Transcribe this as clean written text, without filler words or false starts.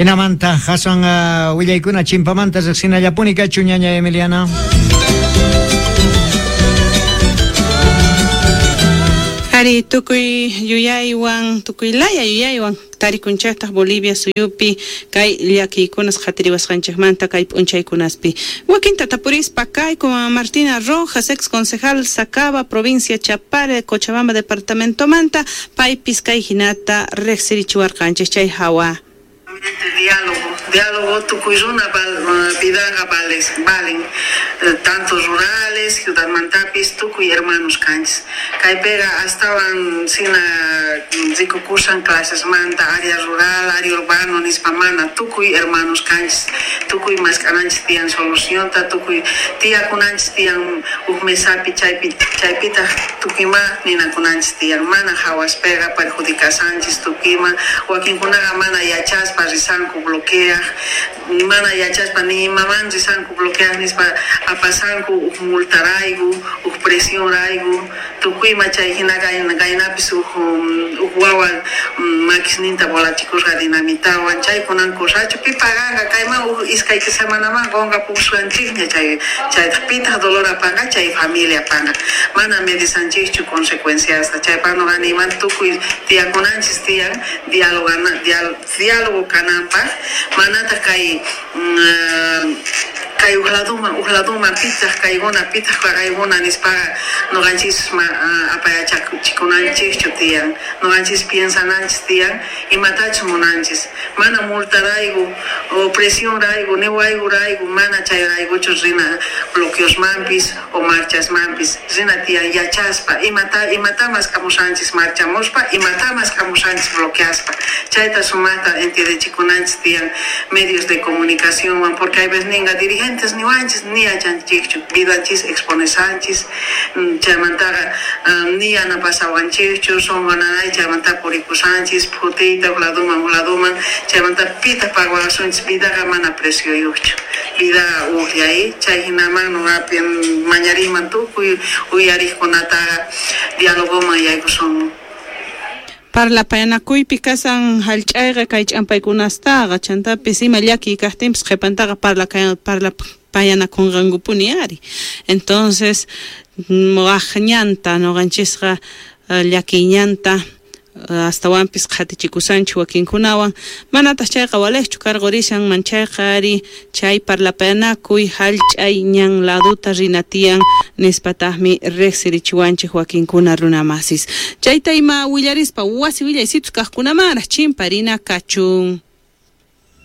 Jinamanta aswan willaykuna chimpamanta riqsinallapuni kachun, ñaña Emiliana. Ari, tukuy yuyaywan, tukuy laya yuyaywan tarikunchejtaj Bolivia suyupi kay llakiykunas qhatiriwasqanchejmanta kay p'unchaykunaspi. Wakinta tapurispa kayku Martina Rojas, ex concejal Sacaba, provincia Chapare, Cochabamba departamentomanta, paypis kay hinata riqsirichiwarqanchej chay hawa. Diálogo, diálogo tukuy runa vidaqa valen, tanto rurales, ciudadmantapis, tukuy hermanos kanchis. Kaypiqa astawan sina rikukusan clasesmanta, área rural, área urbano nispa mana, tukuy hermanos kanchis, tukuy mask'ananchis tiyan solucionta, tukuy tiyakunanchis tiyan uj mesapi, chaypitaq tukuyma ninakunanchis tiyan, mana hawaspiqa perjudicasanchis tukuyma, wakinkunaqa mana yachaspa risanku bloqueaj, mana yachaspa ni imaman risanku bloqueaj nispa apasanku uj multarayku, uj presionrayku, tukuyma chay hina kaynapis uj wawa makisninta volachikusqa dinamitawan, chaykunan cosachu pi paganqa kayman uj iskay semanaman qonqapusqanchikña chay chaytaq pitaq dolor apanqa chay familia apanqa, mana medisanchikchu consecuenciasta, chaypaq nuqa niyman tukuy tiyakunanchis tiyan diálogo kananpaq, manataq kay kay uj laduman pitaq kaykuna pitaq kaykuna nispaqa nuqanchis apayachikunanchikchu tiyan, nuqanchis piensananchis tiyan imatachus munanchis, mana multarayku o presionrayku ni wayrayku mana chayraykuchu rina bloqueosmanpis o marchasmanpis, rina tiyan yachaspa imata mask'amusanchis marchamuspa, imata mask'amusanchis bloqueaspa, chayta sumaqta entiendechikunanchis tiyan medios de comunicacionwan, porque hay veces ninqa dirigentes niwanchis ni yachanchikchu, vidanchis exponesanchis, chaymantaqa ni yanapasawanchikchu, sunqu nanay chaymanta purikusanchis phutiyta uj laduman, chaymanta pitaq pagawasunchis, vidaqa mana precioyuqchu, vidaqa ujllay, chay hinaman nuqapi mañariyman tukuy uyariqkunataqa dialogoman yaykusunman. Parlapayanakuypi kasan hallch'ayqa kay ch'ampaykunastaqa chantapis ima llakiy kaqtinpis qhipantaqa parlapayanakunqankupuni ari. Entonces waq ñanta nuqanchisqa llakiy ñanta astawanpis qhatichikusanchik wakinkunawan, manataq chayqa waliqchu karqurishan manchayqa ari chay parlapayanakuy hallch'ay ñan laduta rina tiyan nispataqmi riqsirichiwanchik wakinkuna runamasis. Chayta ima willarispa wasi willaysitus kaqkunamanraq chimparina kachun.